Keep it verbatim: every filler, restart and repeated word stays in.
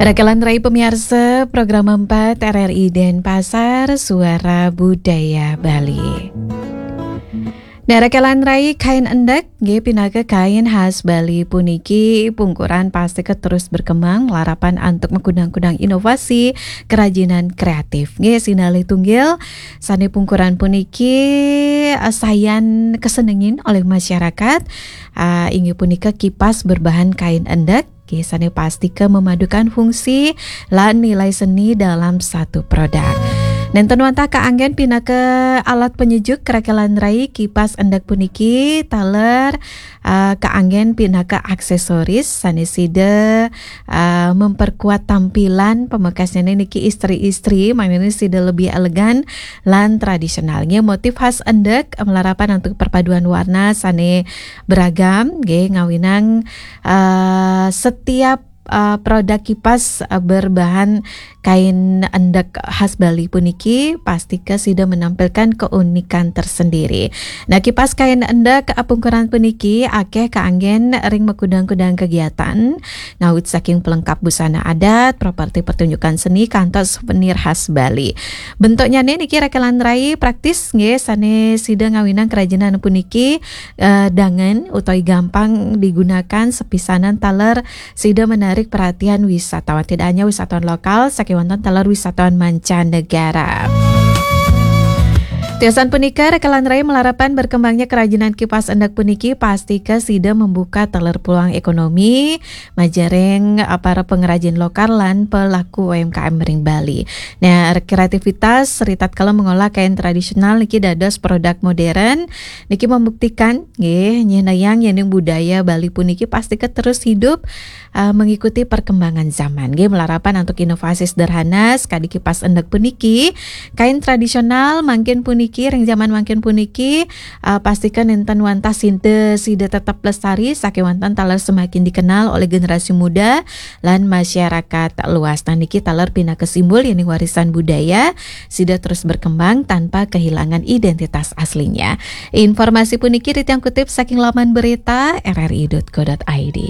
Rakelan rai pemiarsa program empat R R I Denpasar, Suara Budaya Bali. Nah, rakelan rai, kain endek nggih pinaka kain khas Bali puniki pungkuran pastika terus berkembang, larapan antuk makudang-kudang inovasi kerajinan kreatif. Nggih, sinalih tunggil sane pungkuran puniki, eh, sayan kesenengin oleh masyarakat, ah, inggih punika kipas berbahan kain endek. Nggih, sane pastika memadukan fungsi lan nilai seni dalam satu produk. Nenten wantah kaanggen pinaka alat penyejuk rakelan rai, kipas endek puniki taler, ah, kaanggen pinaka aksesoris sane sida, ah, memperkuat tampilan, pamekasnyane niki istri-istri, mangdane sida lebih elegan lan tradisional. Nggih, motif khas endek malarapan antuk perpaduan warna sane beragam, nggih, ngawinang, ah, setiap, ah, produk kipas, ah, berbahan kain endek khas Bali puniki pastika sida menampilkan keunikan tersendiri. Nah, kipas kain endek, ah, pungkuran puniki akeh kaanggen ring makudang-kudang kegiatan, ngawit saking pelengkap busana adat, properti pertunjukan seni, kantos souvenir khas Bali. Bentuknyane niki rakelan rai praktis nggih, sane sida ngawinang kerajinan puniki, eh, dangen utawi gampang digunakan, sepisanan taler sida menarik perhatian wisatawan. Tidak hanya wisatawan lokal, sakewanten taler wisatawan mancanegara. Tiosan punika, rakelan rai malarapan berkembangnya kerajinan kipas endek puniki pastika sida membuka taler peluang ekonomi majaring, eh, para pengrajin lokal lan pelaku U M K M ring Bali. Nah, kreativitas ritatkala mengolah kain tradisional niki dados produk modern, niki membuktikan nggih, nyehnayang yening budaya Bali puniki pastika terus hidup, eh, mengikuti perkembangan zaman. Nggih, malarapan antuk inovasi sederhana, sakadi kipas endek puniki, kain tradisional mangkin puniki, ring zaman mangkin puniki, eh, pastika nenten wantah sida, sida tetap lestari, sakewanten taler semakin dikenal oleh generasi muda lan masyarakat luas. Nah, niki taler pinaka simbol yening warisan budaya sida terus berkembang tanpa kehilangan identitas aslinya. Informasi puniki titiang kutip saking laman berita R R I dot co dot I D.